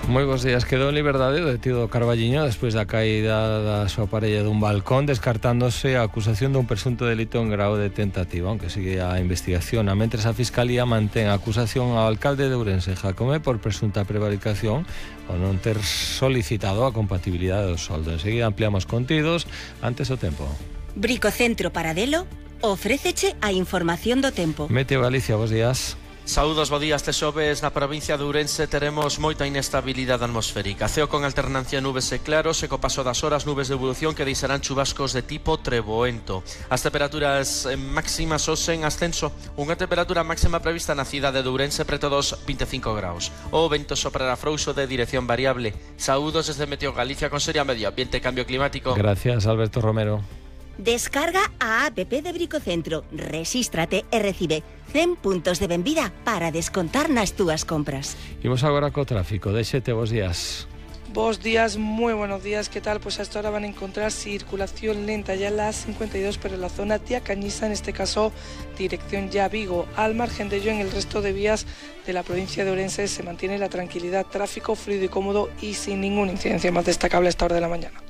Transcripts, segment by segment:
Moi bons días. Quedou en liberdade o detido Carballiño despois da caída da súa parella dun balcón, descartándose a acusación dun presunto delito en grao de tentativa, aunque sigue a investigación. A mentres a Fiscalía mantén a acusación ao alcalde de Ourense, Jácome, por presunta prevaricación ao non ter solicitado a compatibilidade do soldo. Enseguida ampliamos contidos antes o tempo. Bricocentro Paradelo ofréceche a información do tempo. Meteo Galicia, bons días. Saúdos, bo día. Este xoves na provincia de Ourense teremos moita inestabilidade atmosférica. Ceo con alternancia nubes e claros e co paso das horas nubes de evolución que deixarán chubascos de tipo treboento. As temperaturas máximas hoxe en ascenso. Unha temperatura máxima prevista na cidade de Ourense preto dos 25 graus. O vento soprará frouxo de dirección variable. Saúdos desde Meteo Galicia con Seria Medio Ambiente e Cambio Climático. Gracias, Alberto Romero. Descarga a app de Bricocentro, resístrate e recibe 100 puntos de benvida para descontar nas túas compras. Imos agora co tráfico. Deixete, bons días. Bos días, muy buenos días, ¿qué tal? Pues hasta ahora van a encontrar circulación lenta ya en la 52, pero en la zona Tía Cañiza, en este caso dirección ya Vigo. Al margen de ello, en el resto de vías de la provincia de Ourense se mantiene la tranquilidad, tráfico fluido y cómodo y sin ninguna incidencia más destacable a esta hora de la mañana.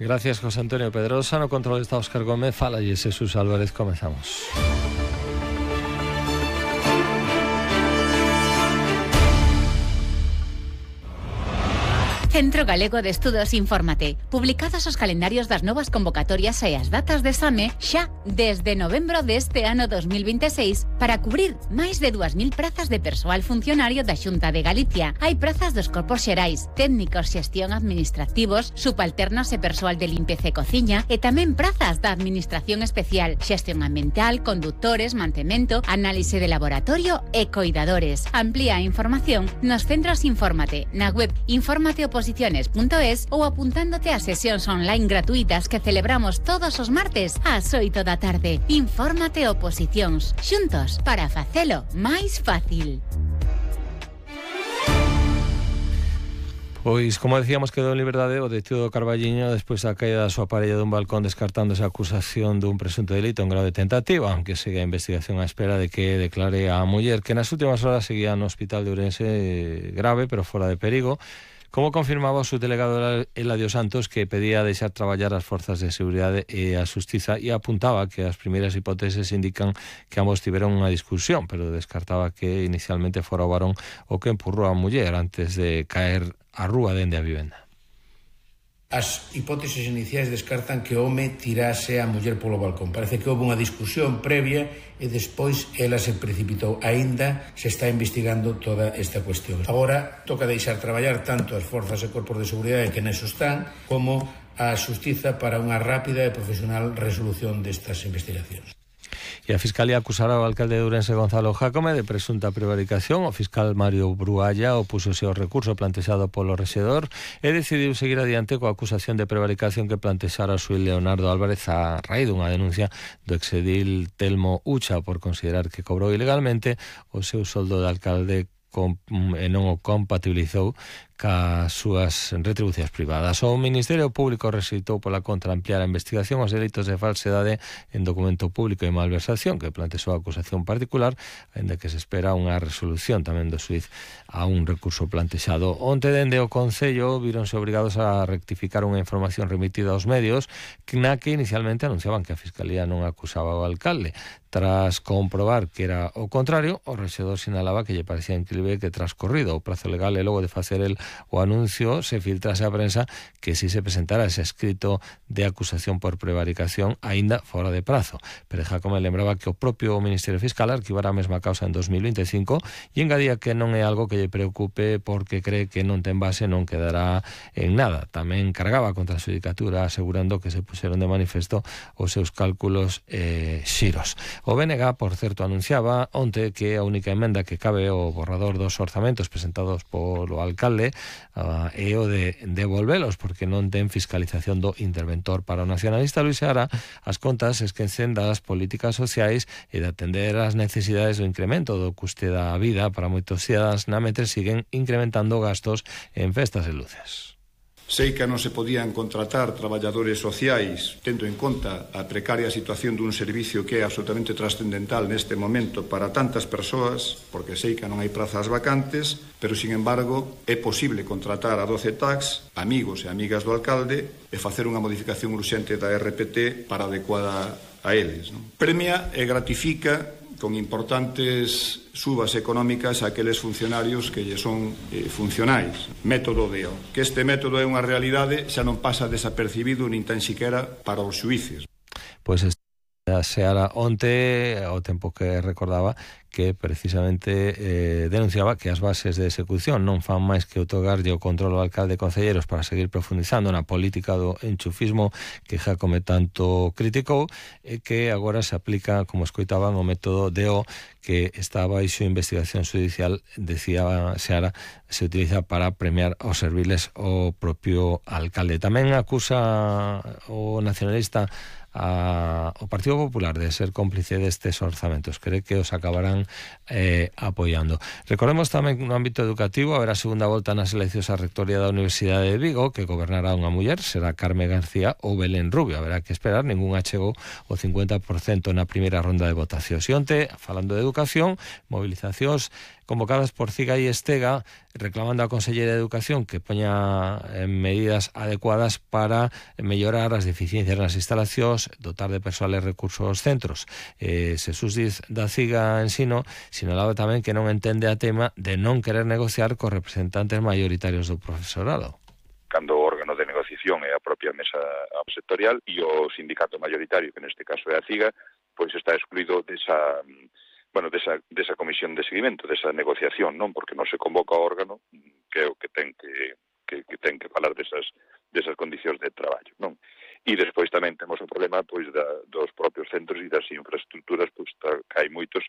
Gracias, José Antonio Pedrosa. No control está Óscar Gómez. Fala y Jesús Álvarez. Comenzamos. Centro Galego de Estudos Infórmate. Publicados os calendarios das novas convocatorias e as datas de exame xa desde novembro deste ano 2026 para cubrir máis de 2.000 prazas de persoal funcionario da Xunta de Galicia. Hai prazas dos corpos xerais, técnicos, xestión administrativos, subalternos e persoal de limpeza e cociña e tamén prazas da administración especial, xestión ambiental, conductores, mantemento, análise de laboratorio e coidadores. Amplía a información nos centros Infórmate, na web informateoposiciones.es ou apuntándote a sesións online gratuitas que celebramos todos os martes ás 8 da tarde. Infórmate Oposicións, xuntos para facelo máis fácil. Pois, como decíamos, quedou en liberdade o detido Carballiño despois da caída da súa parella dun balcón, descartándose a acusación dun presunto delito en grado de tentativa, aunque sigue a investigación á espera de que declare a muller, que nas últimas horas seguía no hospital de Ourense grave, pero fora de perigo. Como confirmaba o subdelegado Eladio Santos, que pedía deixar traballar as forzas de seguridade e a xustiza e apuntaba que as primeiras hipóteses indican que ambos tiveron unha discusión, pero descartaba que inicialmente fora o varón o que empurrou a muller antes de caer á rúa dende a vivenda. As hipóteses iniciais descartan que o home tirase a muller polo balcón. Parece que houve unha discusión previa e despois ela se precipitou. Aínda se está investigando toda esta cuestión. Agora toca deixar traballar tanto as forzas e corpos de seguridade que neso están como a xustiza para unha rápida e profesional resolución destas investigacións. E a Fiscalía acusará ao alcalde de Ourense, Gonzalo Jácome, de presunta prevaricación. O fiscal Mario Brualla opúsose ao recurso plantexado polo rexedor e decidiu seguir adiante coa acusación de prevaricación que plantexara o xuíz Leonardo Álvarez a raíz dunha denuncia do exedil Telmo Ucha por considerar que cobrou ilegalmente o seu soldo de alcalde e non o compatibilizou cas súas retribucións privadas. O Ministerio Público rexeitou pola contra ampliar a investigación aos delitos de falsedade en documento público e malversación que plantexou a acusación particular, ainda que se espera unha resolución tamén do xuíz a un recurso plantexado. Onte dende o Concello víronse obrigados a rectificar unha información remitida aos medios na que inicialmente anunciaban que a Fiscalía non acusaba ao alcalde. Tras comprobar que era o contrario, o rexedor sinalaba que lle parecía incrível que transcorrido o prazo legal e logo de facer el o anuncio se filtrase a prensa que si se presentara ese escrito de acusación por prevaricación aínda fora de prazo. Pero Jácome lembraba que o propio Ministerio Fiscal arquivara a mesma causa en 2025 e engadía que non é algo que lle preocupe porque cree que non ten base, non quedará en nada. Tamén cargaba contra a xudicatura asegurando que se puxeron de manifesto os seus cálculos xiros. O BNG, por certo, anunciaba onte que a única emenda que cabe o borrador dos orzamentos presentados polo alcalde é o de devolvelos, porque non ten fiscalización do interventor. Para o nacionalista Luis Seara, as contas esquecen das políticas sociais e de atender as necesidades do incremento do custe da vida para moitos cidadáns, na mentre siguen incrementando gastos en festas e luces. Sei que non se podían contratar traballadores sociais tendo en conta a precaria situación dun servicio que é absolutamente trascendental neste momento para tantas persoas, porque sei que non hai prazas vacantes, pero, sin embargo, é posible contratar a 12 tax, amigos e amigas do alcalde, e facer unha modificación urxente da RPT para adecuada a eles. Premia e gratifica con importantes subas económicas a aqueles funcionarios que lle son funcionais. Método DEO. Que este método é unha realidade xa non pasa desapercibido nin tan siquiera para os xuíces. Pois Seara onte, ao tempo que recordaba, que precisamente denunciaba que as bases de execución non fan máis que outorgarlle o control ao alcalde e concelleiros para seguir profundizando na política do enchufismo que Jácome tanto criticou, e que agora se aplica, como escoitaban, o método DEO, que está baixo investigación judicial, decía Seara, se utiliza para premiar aos serviles o propio alcalde. Tamén acusa o nacionalista o Partido Popular de ser cómplice destes orzamentos. Cree que os acabarán apoiando. Recordemos tamén no ámbito educativo haberá segunda volta nas eleccións á rectoría da Universidade de Vigo, que gobernará unha muller, será Carme García ou Belén Rubio. Haberá que esperar, ningún achegou o 50% na primeira ronda de votacións. E onte, falando de educación, movilizacións convocadas por CIGA e Estega, reclamando á Conselleira de Educación que poña medidas adecuadas para mellorar as deficiencias nas instalacións, dotar de persoal e recursos aos centros. Xesús Diz da CIGA Ensino sinalaba tamén que non entende a tema de non querer negociar cos representantes maioritarios do profesorado. Cando o órgano de negociación é a propia mesa sectorial e o sindicato mayoritario, que neste caso é a CIGA, pois está excluído desa comisión de seguimento, desa negociación, non? Porque non se convoca o órgano que é o que ten que falar desas condicións de traballo, non? E despois tamén temos o problema pois dos propios centros e das infraestructuras, pois que hai moitos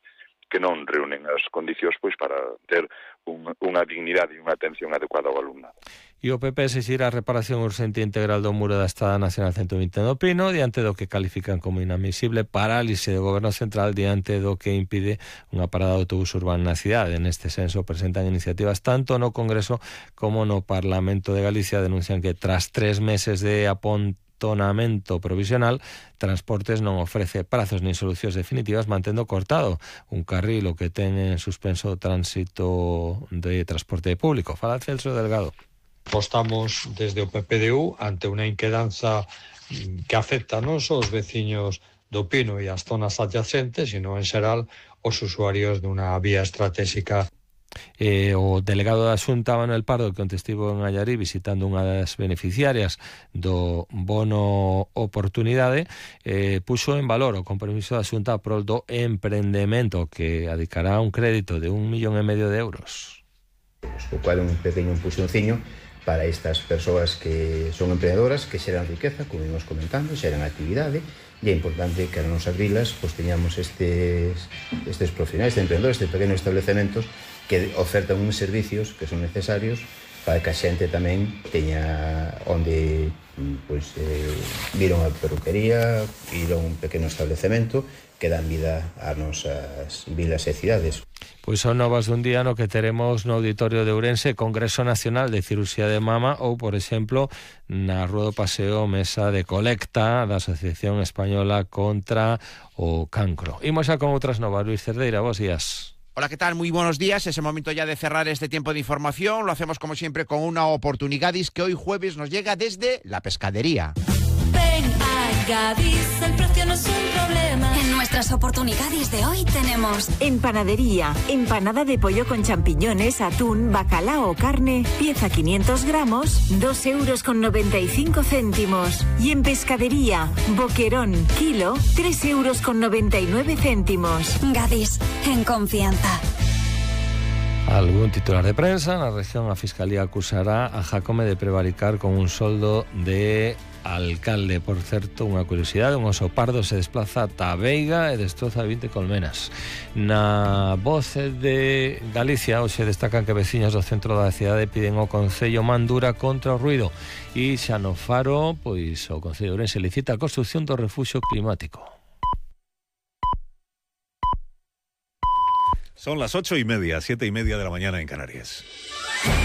que non reúnen as condicións pois para ter unha dignidade e unha atención adecuada ao alumnado. E o PP exixirá a reparación urxente integral do muro da Estrada Nacional 120 do Pino, diante do que califican como inadmisible parálise do Goberno Central diante do que impide unha parada de autobús urbano na cidade. Neste senso presentan iniciativas tanto no Congreso como no Parlamento de Galicia. Denuncian que tras 3 meses de apontonamento provisional, Transportes non ofrece prazos nin solucións definitivas, mantendo cortado un carril o que ten en suspenso o tránsito de transporte público. Fala Celso Delgado. Apostamos desde o PPDU ante unha inquedanza que afecta non só os veciños do Pino e as zonas adyacentes, sino en xeral os usuarios dunha vía estratégica. O delegado da Xunta, Manuel Pardo, que onte estivo en Allarí visitando unha das beneficiarias do bono oportunidade, puxo en valor o compromiso da Xunta a prol do emprendemento, que adicará un crédito de 1,5 millón de euros. O cual un pequeno empuxonciño para estas persoas que son emprendedoras, que xeran riqueza, como íbamos comentando, xeran actividade, e é importante que nas nosas vilas pues, teñamos estes profesionais, estes emprendedores, estes pequenos establecementos que ofertan uns servicios que son necesarios para que a xente tamén teña onde pues, vir a unha peruquería, ir a un pequeno establecemento que dan vida ás nosas vilas e cidades. Pois son novas dun día no que teremos no Auditorio de Ourense Congreso Nacional de Cirurxía de Mama ou, por exemplo, na Rúa do Paseo mesa de colecta da Asociación Española contra o Cancro. Imos xa con outras novas. Luis Cerdeira, bos días. Hola, ¿qué tal? Muy buenos días. Es el momento ya de cerrar este tiempo de información. Lo hacemos como siempre con una oportunidad que hoy jueves nos llega desde la pescadería. Ven a Gadis, el precio no es un problema. En nuestras oportunidades de hoy tenemos en panadería, empanada de pollo con champiñones, atún, bacalao o carne, pieza 500 gramos, 2,95 €. Y en pescadería, boquerón, kilo, 3,99 €. Gadis, en confianza. Algún titular de prensa. Na región, a Fiscalía acusará a Jácome de prevaricar con un soldo de alcalde. Por certo, unha curiosidade, un oso pardo se desplaza ata a Veiga e destroza 20 colmenas. Na Voz de Galicia hoxe destacan que veciños do centro da cidade piden ao Concello man dura contra o ruido. E xa no Faro, pois o Concello de Ourense licita a construción do refuxio climático. Son las 8:30, 7:30 de la mañana en Canarias.